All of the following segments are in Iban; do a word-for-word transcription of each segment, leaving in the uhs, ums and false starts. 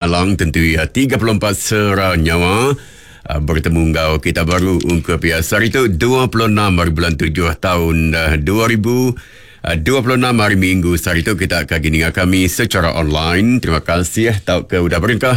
Alang tentu ya tiga puluh empat sera nyawa bertemu ngau kita baru ungkup ya sehari tu dua puluh enam hari bulan tujuh tahun dua ribu dua puluh enam hari Minggu. Sehari tu kita akan gini kami secara online. Terima kasih tau ke udah berengkah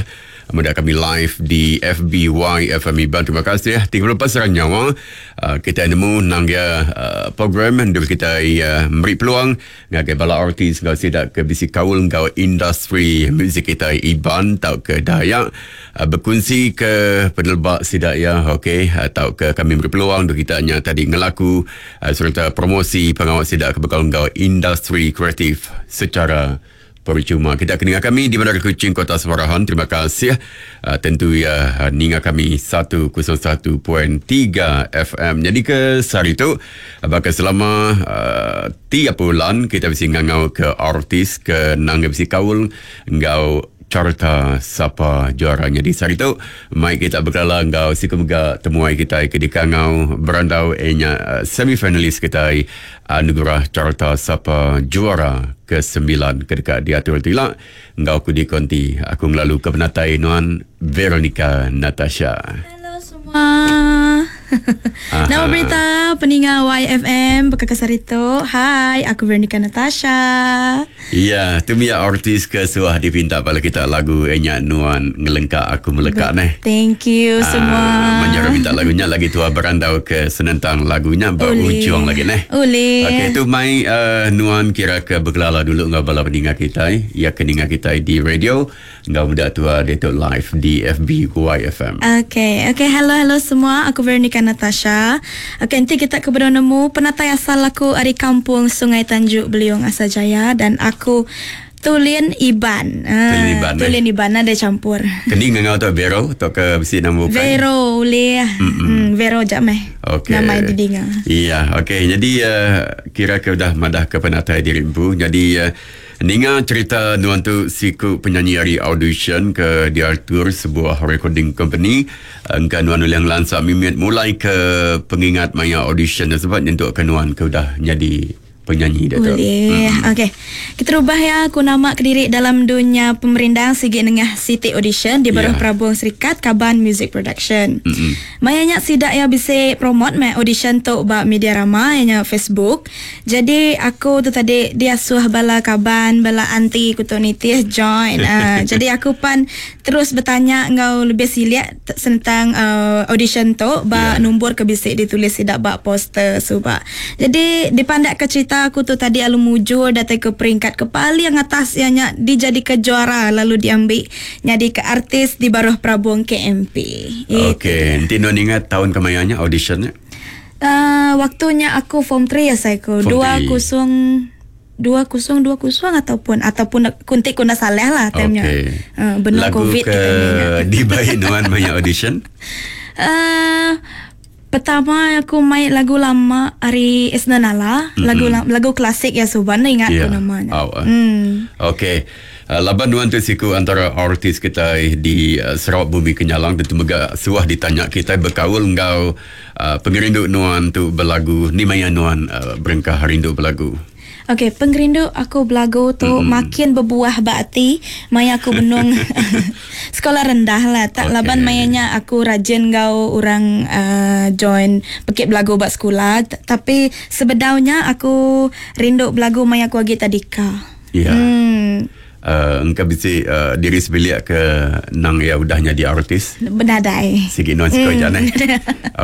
muda kami live di F B Y F M Iban. Terima kasih tiga puluh empat sera nyawa. Uh, kita nemu nang ya uh, program untuk kita uh, beri peluang ngagai bala artis ngau sidak ke bisi kaul ngau industri muzik kita Iban tau ke Dayak uh, berkongsi ke penelbak sidak ya okey atau uh, ke kami beri peluang untuk kita nya tadi ngelaku uh, serta promosi pengawal sidak ke bekal ngau industri kreatif secara percuma. Kita akan dengar kami di Bandar Kuching, Kota Samarahan. Terima kasih. Uh, tentu ya uh, ninga kami seratus satu titik tiga F M. Jadi ke sehari tu bakal selama uh, tiga bulan kita mesti ngangau ke artis ke nang mesti kaul ngau carta sapa juaranya. Di sehari tu mai kita berkala ngau siku mega temuai kita ke dikangau berandau enya semi-finalis kita anugerah carta sapa juara kesembilan kedekat diatur tilak ngau ku dikonti aku ngelalu ke penatai nuan Veronica Natasha. Hello semua. Nama berita peninga Y F M Bekakasar itu. Hai, aku Veronica Natasha. Ya, tu mia artis ke suah dipinta bala kita lagu enya nuan ngelengkak aku melekak neh. Thank you ah, semua. Menjara minta lagunya lagi tua berandau ke senentang lagunya berujung lagi neh. Boleh. Okey, tu mai uh, nuan kira ke berkelala dulu ngau bala peninga kita, ya keninga kita di radio ngau muda tua detok live di F B Y F M. Okey, okey, hello hello semua. Aku Veronica Natasha. Okey, nanti kita ke nemu penatai asal aku dari kampung Sungai Tanjuk Beliung Asajaya dan aku Tulin Iban. Tulin Iban. Tulin eh. Iban ada campur. Kening ngau tu Vero atau ke besi nama bukan? Vero boleh. Hmm, Vero jap meh. Okey. Nama didinga. Iya, okey. Jadi uh, kira ke dah madah ke penatai diri empu. Jadi uh, ninga cerita nuan tu siku penyanyi hari audition ke diatur sebuah recording company. Engka nuan ulang lansak mimit mulai ke pengingat maya audition sebab nyentuk ke nuan ke udah jadi penyanyi dia tu. Boleh. Mm-hmm. Okey. Kita rubah ya aku nama kediri dalam dunia pemerindang sigi nengah City Audition di Baruh yeah. Prabung Serikat Kaban Music Production. Mm-hmm. Mayanya sidak ya bisa promote mai audition tu ba media rama nya Facebook. Jadi aku tu tadi dia suah bala kaban bala anti ku tu nitih join. uh, jadi aku pan terus bertanya ngau lebih siliak tentang uh, audition tu ba yeah. nombor ke bisik ditulis sidak ba poster suba. Jadi dipandak ke cerita aku tu tadi alu mujur datang ke peringkat ke paling atas ianya dijadi ke juara lalu diambil jadi ke artis di Baruh Prabung K M P. Okey, nanti non ingat tahun kemayanya auditionnya? Uh, waktunya aku form tiga ya saya ku. Dua kosong dua kosong dua kosong ataupun ataupun kuntik kuna salah lah timenya. Okey. Uh, benar lagu COVID ke dibaik nuan banyak audition? Uh, Pertama aku main lagu lama ari Isna Nala, mm-hmm. lagu lagu klasik ya Suban ingat yeah. aku namanya. Oh, uh. Hmm. Okey. Uh, laban nuan tu siku antara artis kita di uh, Sarawak Bumi Kenyalang tentu mega suah ditanya kita berkaul ngau uh, pengerindu nuan tu berlagu ni maya nuan uh, berengkah rindu berlagu. Okey, pengerindu aku belagu tu mm-hmm. makin berbuah bakti maya aku benung sekolah rendah lah. Tak okay. Laban mayanya aku rajin gau orang uh, join pekit belagu bak sekolah. T- tapi sebedaunya aku rindu belagu maya aku agi tadika. Ya. Yeah. Hmm. Uh, engkau bisi uh, diri sebilik ke nang ya udah jadi artis? Benadai. Sikit nuan sikit mm. eh.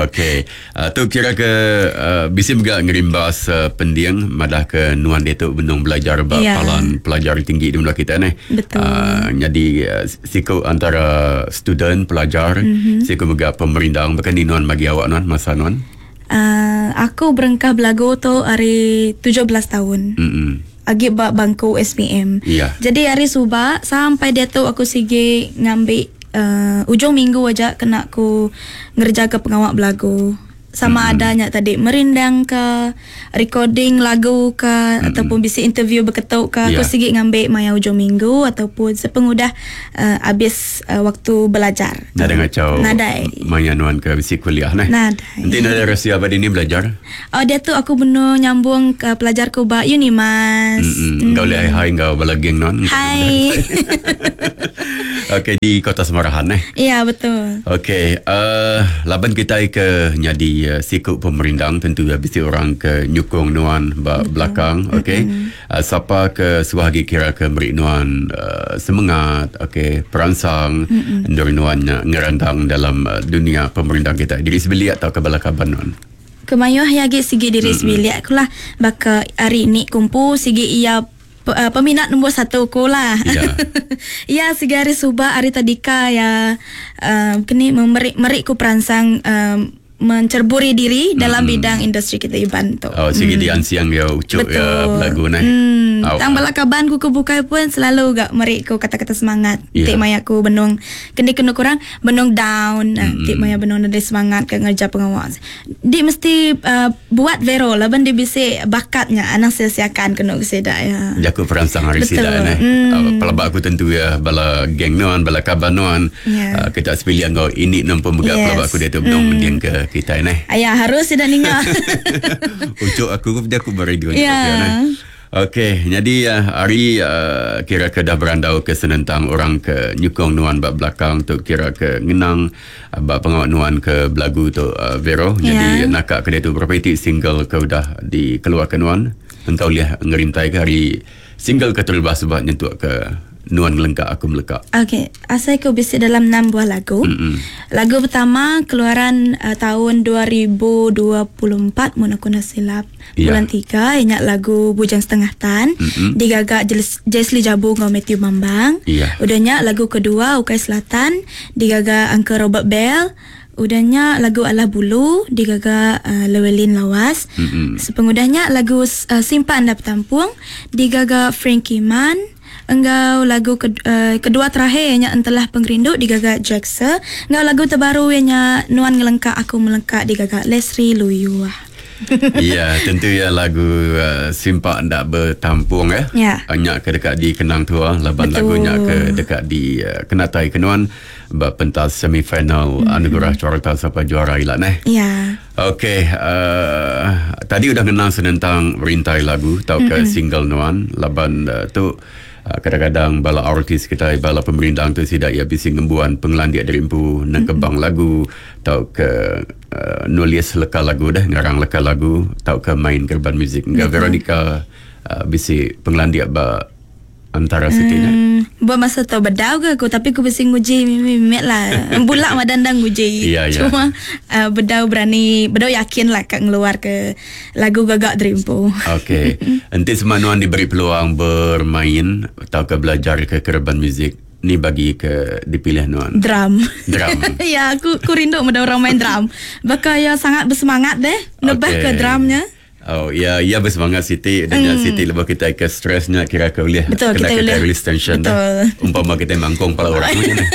Okey. Uh, tu kira ke uh, bisi juga ngerimbas uh, pendiang madah ke nuan dia tu benung belajar bab yeah. palan pelajar tinggi di menua kita ni. Betul. Uh, jadi uh, siku antara student pelajar, mm-hmm. siku juga pemerindang bahkan ni nuan bagi awak nuan masa nuan. Uh, aku berengkah belagu tu hari tujuh belas tahun. Mm-mm. Agi bak bangku S P M. Yeah. Jadi hari subak sampai dia tu aku sigi ngambil uh, ujung minggu aja kena aku ngerja ke pengawak belagu. Sama mm-hmm. adanya tadi merindang ke recording lagu ke mm-hmm. ataupun bisi interview berketuk ke yeah. aku sigi ngambil maya ujung minggu ataupun sepengudah uh, habis uh, waktu belajar. Nada ngacau. Nadai. Maya nuan ke bisi kuliah neh. Nadai. Nanti nada rahsia apa ini belajar? Oh dia tu aku benar nyambung ke pelajar ku ba Unimas. Mm-hmm. Mm. Kau boleh hai hai kau bala geng non. Hai. Okey, di Kota Semarahan eh. Ya, betul. Okey, uh, laban kita ke nyadi uh, siku pemerindang tentu bisi orang ke nyukung nuan ba belakang, okey. Uh, siapa ke suah agi kira ke meri nuan uh, semangat, okey, peransang endur nuan ngerandang dalam uh, dunia pemerindang kita. Diri sebilik atau ke bala kaban nuan? Kemayuh ya agi sigi diri mm-hmm. sebilik aku lah. Baka hari ni kumpu sigi ia uh, peminat nombor satu ku lah. Ya. Ya sigi hari subak hari tadika ya uh, kini memberi meri ku peransang um, mencerburi diri dalam mm-hmm. bidang industri kita Iban tu. Oh, sigi mm. dian siang ya ucuk ya lagu ni. Hmm. Oh. Tang bala kaban ku kebukai pun selalu gak meri ku kata-kata semangat. Yeah. Tik maya ku benung kendi kena kurang benung down, mm-hmm. tik maya benung ada semangat ke ngerja pengawas. Di mesti uh, buat Vero laban di bisi bakatnya anang sia-siakan kena sida ya. Jaku peransang hari sida ne. Mm. Uh, pelabak aku tentu ya bala geng nuan, bala kaban nuan. Yeah. Uh, kita sepilihan ngau ini nampu mega yes. pelabak aku dia tu benung mm. mending ke kita ni. Ayah harus tidak ninga. Ucuk aku dia aku beradio ni. Yeah. Okey, jadi uh, hari uh, kira ke dah berandau ke senentang orang ke nyukong nuan bab belakang tu kira ke ngenang uh, bab pengawak nuan ke belagu tu uh, Vero. Yeah. Jadi nakak ke dia tu berapa itik single ke udah dikeluarkan nuan? Engkau lihat ngerintai ke hari single ke terlebah sebab nyentuk ke nuan melengkak aku melekak. Okey, asal aku bisi dalam enam buah lagu. Mm-mm. Lagu pertama keluaran uh, tahun dua ribu dua puluh empat mun aku nak silap. Yeah. Bulan tiga ingat lagu Bujang Setengah Tan Mm-mm. digagak Jesli Jabu ngau Matthew Mambang. Yeah. Udahnya lagu kedua Ukai Selatan digagak Uncle Robert Bell. Udahnya lagu Alah Bulu digagak uh, Lewelin Lawas. Mm-mm. Sepengudahnya lagu uh, Simpan Anda Bertampung digagak Frankie Man. Enggau lagu ke, uh, kedua terakhir nya Entelah Pengerindu digagak Jackson. Enggau lagu terbaru nya Nuan Ngelengkak Aku Melengkak digagak Leslie Luyuah. Ya, tentu ya lagu uh, Simpak Ndak Bertampung ya. Ya. Nyak ke dekat di Kenang Tua laban Betul. Lagu nyak ke dekat di uh, Kenatai Kenuan ba pentas semifinal mm-hmm. Anugerah Carta Sapa Juara ilak neh. Ya. Okey, uh, tadi udah kenang senentang rintai lagu tau ke mm-hmm. single nuan laban uh, tu kadang-kadang bala artis kita bala pemerindang tu sidak ya bisi ngembuan pengelandik dari empu nang kebang mm-hmm. lagu tau ke uh, nulis leka lagu dah ngarang leka lagu tau ke main kerban muzik. Enggak mm-hmm. Veronica uh, bisi pengelandik ba antara sitinya. Hmm, buat masa tu bedau ke aku tapi aku bisi nguji mimik lah. Bulak madandang nguji. Ya, ya. Cuma uh, bedau berani, bedau yakin lah kat ngeluar ke lagu gagak derimpu. Okey. Enti semanuan diberi peluang bermain atau ke belajar ke kerban muzik ni bagi ke dipilih nuan. Drum. Drum. Ya, aku aku rindu meda orang main drum. Bakal ya sangat bersemangat deh nebah okay. ke drumnya. Oh ya, ya bersemangat Siti dan mm. Siti lebih kita ke stresnya kira ke boleh betul, kena kita, kita release tension. Betul. Dah. Umpama kita mangkong kepala orang macam ni.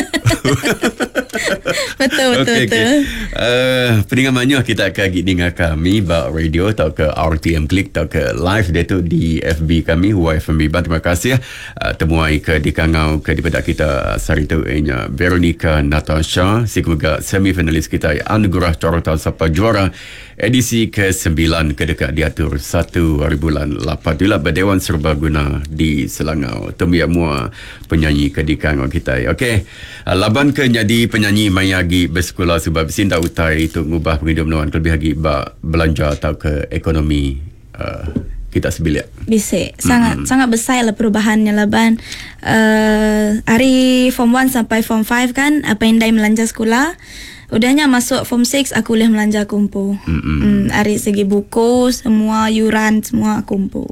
Betul betul okay, betul. Okay. Uh, pendengar manyuh kita akan gigi dengar kami ba radio atau ke R T M Click atau ke live dia tu di F B kami Y F M Iban. Terima kasih uh, temuai ke di Kangau ke di pedak kita sehari tu ianya Veronica Natasha semoga semifinalis kita Anugerah Carta Sapa Juara edisi ke sembilan ke dekat diatur satu hari bulan lapan itulah Berdewan Serbaguna di Selangor. Temiak mua penyanyi ke di Kangau kita. Okey, laban ke jadi penyanyi maya agi bersekolah sebab sinda utai itu ngubah penghidup nuan lebih agi ba belanja atau ke ekonomi uh, kita sebilik. Bisa sangat mm-hmm. sangat besar lah perubahannya laban uh, hari form one sampai form five kan apa indai melanja sekolah. Udahnya masuk form six aku boleh melanja kumpu. Mm-hmm. Hmm, hari segi buku semua yuran semua kumpu.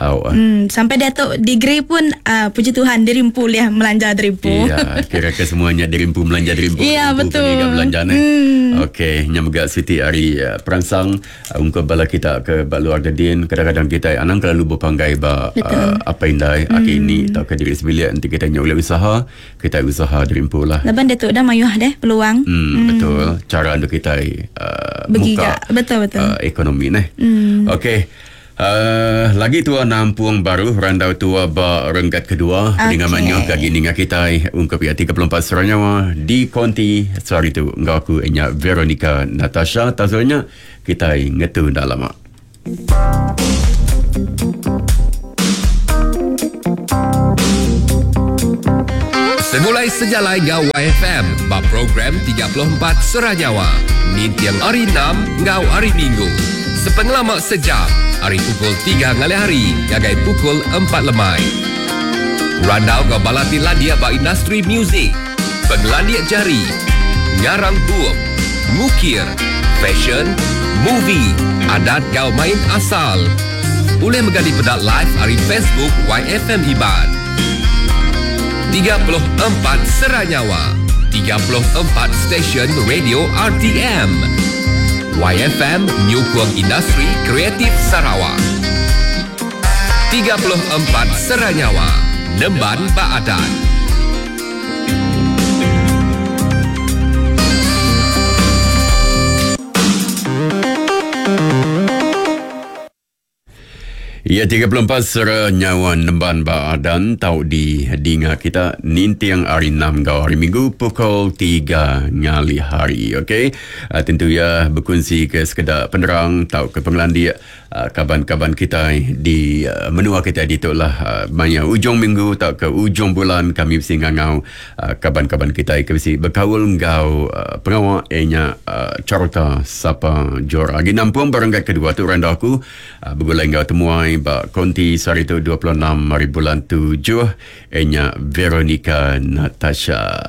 Oh, uh. Hmm, sampai dia tu degree pun uh, puji Tuhan dirimpu liah melanja derimpu. Iya, kira-kira semuanya dirimpu melanja derimpu. Iya, betul. Kena belanja ni. Hmm. Okey, nyamga Siti hari uh, peransang uh, ungkap bala kita ke luar dedin kadang-kadang kita anang terlalu berpanggai ba uh, apa indai hmm. aki ini atau ke diri sebilik nanti kita nyoleh usaha, kita usaha derimpu lah. Laban dia tu dah mayuh deh peluang. Hmm, hmm. Betul. Cara untuk kita uh, muka betul betul. Uh, ekonomi ni. Hmm. Okey. Uh, lagi tua nampung baru randau tua ba renggat kedua okay. Dengan manyuh kagi ninga kita ungkap ya tiga puluh empat seranyawa di konti sehari tu engkau aku enya Veronica Natasha tazonya kita ngetu dah lama. Segulai sejalai ngau Y F M ba program tiga puluh empat Seranyawa. Nintiang hari enam ngau hari Minggu. Sepengelama sejam, hari pukul tiga ngalih hari ngagai pukul empat lemai. Randau ngau balati landia ba industri muzik, pengelandia jari, ngarang bup, ngukir, fashion, movie, adat ngau main asal. Boleh mega dipedak live hari Facebook Y F M Iban. tiga puluh empat Seranyawa, tiga puluh empat stesen radio R T M. Y F M nyukung industri kreatif Sarawak. tiga puluh empat Seranyawa, Nemban Baadan. Ya, tiga puluh empat Seranyawa Nemban Baadan tau di dinga kita nintiang hari enam gau hari Minggu pukul tiga ngalih hari. Okey. Uh, tentu ya berkongsi ke sekedar penerang tau ke pengelandia uh, kaban-kaban kita di uh, menua kita di itulah uh, maya ujung minggu tau ke ujung bulan kami mesti ngangau uh, kaban-kaban kita ke mesti berkaul ngau uh, pengawak enya uh, carta sapa jora. Agi nampung baranggai kedua tu randa aku uh, bergulai ngau temuai ba konti sehari tu dua puluh enam hari bulan tujuh enya Veronica Natasha.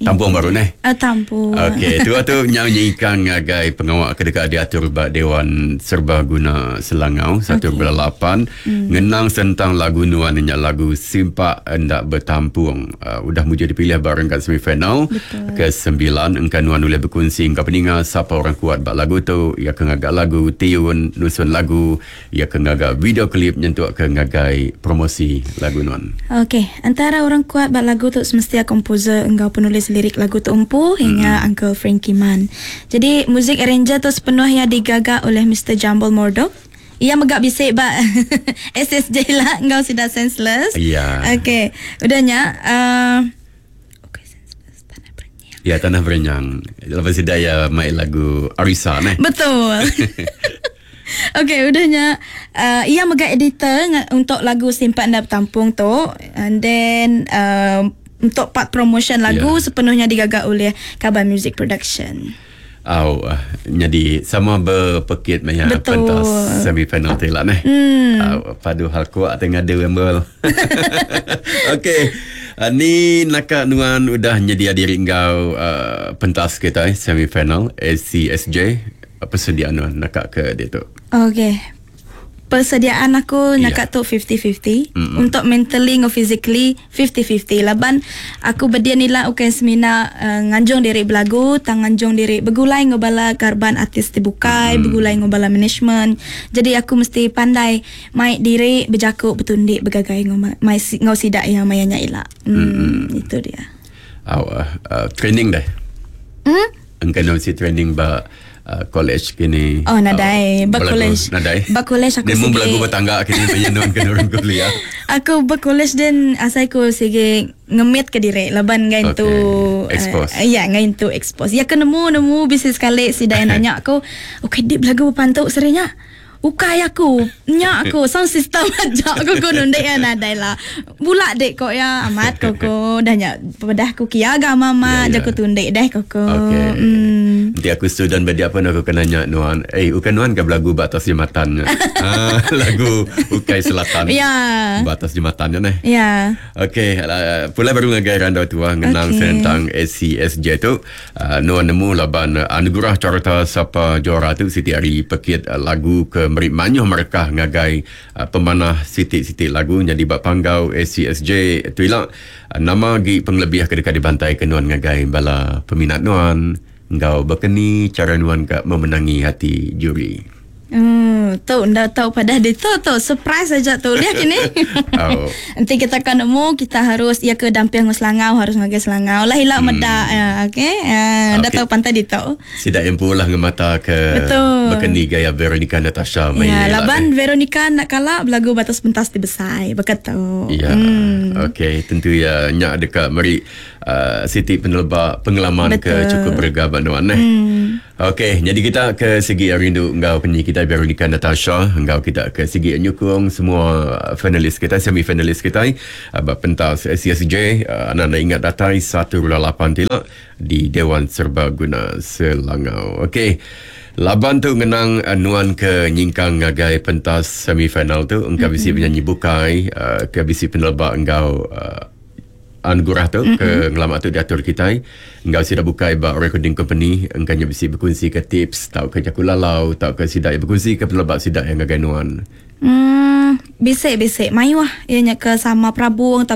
Tampung baru neh. Uh, tampung. Okey, tu tu nyanyikan ngagai pengawak kedekat diatur ba Dewan Serbaguna Selangau satu bulan lapan hmm. Ngenang sentang lagu nuan nya lagu Simpak Endak Bertampung. Uh, udah muja dipilih bareng kat semifinal ke sembilan engkan nuan boleh berkongsi engkau peninga siapa orang kuat ba lagu tu, ya ke ngagak lagu tiun nusun lagu, ya ke ngagak video klip nyentuk ke ngagai promosi lagu nuan. Okey, antara orang kuat ba lagu tu semestinya komposer engkau penulis lirik lagu tu empu hingga mm. Uncle Frankie Man. Jadi muzik arranger tu sepenuhnya digaga oleh Mister Jambul Mordok. Ia megak bisik ba S S J lah engkau sudah senseless. Ya. Okey, udahnya uh, okey senseless tanah berenyang. Ya, tanah berenyang. Lepas sudah ya main lagu Arisa neh. Betul. Okey, udahnya uh, ia megak editor untuk lagu Simpan Dan Bertampung tu, and then uh, untuk part promotion lagu yeah. sepenuhnya digaga oleh Kaban Music Production. Au, oh, jadi sama berpekit maya pentas semifinal tu lah neh. Hmm. Au, padu hal kuat tengah ada wembel. Okey. Uh, ni nakak nuan udah nyedia diri engkau uh, pentas kita eh, semifinal A C S J. Apa persediaan nuan nakak ke dia tu? Okey. Persediaan aku yeah. nakak tu fifty-fifty. Mm-mm. Untuk mentally ngau physically fifty-fifty. Laban aku berdia nila ukai semina uh, nganjung diri belagu, tang nganjung diri begulai ngau bala karban artis dibukai, mm. begulai ngau bala management. Jadi aku mesti pandai mai diri berjakuk bertundik bergagai ngau mai ngau sidak yang mayanya ila. Hmm, itu dia. Aw, uh, uh, training dah. Hmm? Engkau si training ba Uh, college kini. Oh, nadai. Uh, Ba college. Nadai. Ba college aku sigi. Dia belagu bertangga kini penyenon ke orang kuliah. Aku ba college dan asai ku sigi ngemit ke diri laban ngain okay. tu expose. Uh, ya, ngain tu expose. Ya ke nemu nemu bisnes sekali si dai nanya aku, "Okey, dik belagu berpantuk serinya?" Ukai aku, nyak aku, sound system aja aku ku nundek ya nadai lah. Bulak dek kok ya, amat koko dah nyak pedah ku kia ga mama, ya, ya. Jaku tundek deh koko. Okey. Hmm. Nanti aku student badi apa aku kena nyak nuan. Eh, ukan nuan ke belagu batas jembatan. Ah, lagu Ukai Selatan. Ya. Batas jembatan neh. Ya. Okey, uh, pula baru ngagai randau tua ngenang okay. tentang A C S J tu. Uh, nuan nemu laban anugerah carta sapa juara tu Siti Ari pekit uh, lagu ke meri manyuh mereka ngagai uh, pemanah sitik-sitik lagu jadi bak panggau A C S J tu ilang uh, nama gi pengelebih ke dekat dibantai ke nuan ngagai bala peminat nuan ngau berkeni cara nuan ka memenangi hati juri. Hmm, tu ndak tahu pada dia tu tu surprise saja tu lihat ini. Oh. Nanti kita kan nemu kita harus ya ke damping Selangau harus ngagai Selangau lah hilak hmm. medak ya okey. Uh, ndak tahu pantai di tu. Sidak empu lah ngemata ke berkeni gaya Veronica Natasha main. Ya, laban Veronica nak kalah belagu batas pentas di besai begitu. Ya. Hmm. Okey, tentu ya nyak dekat meri uh, Siti penelba pengalaman ke cukup berga nuan eh. Hmm. Okey, jadi kita ke segi rindu engkau penyanyi kita Veronica Natasha Natasha enggau kita ke sigi nyukung semua finalis kita, semi finalis kita uh, ba pentas S C S J. Uh, anda ingat datai satu lapan tila di Dewan Serbaguna Selangau. Okey. Laban tu ngenang uh, nuan ke nyingkang ngagai pentas semifinal tu, engka bisi mm-hmm. penyanyi bukai uh, ke bisi peneleba enggau uh, anugerah tu mm-hmm. ke ngelama tu diatur kita enggau sida bukai ba recording company, engka nya bisi berkongsi ke tips tau ke jaku lalau tau ke sida yang berkongsi ke peneleba sida yang ngagai nuan? Hmm, bisik bisik mayuh ianya ke sama Prabu atau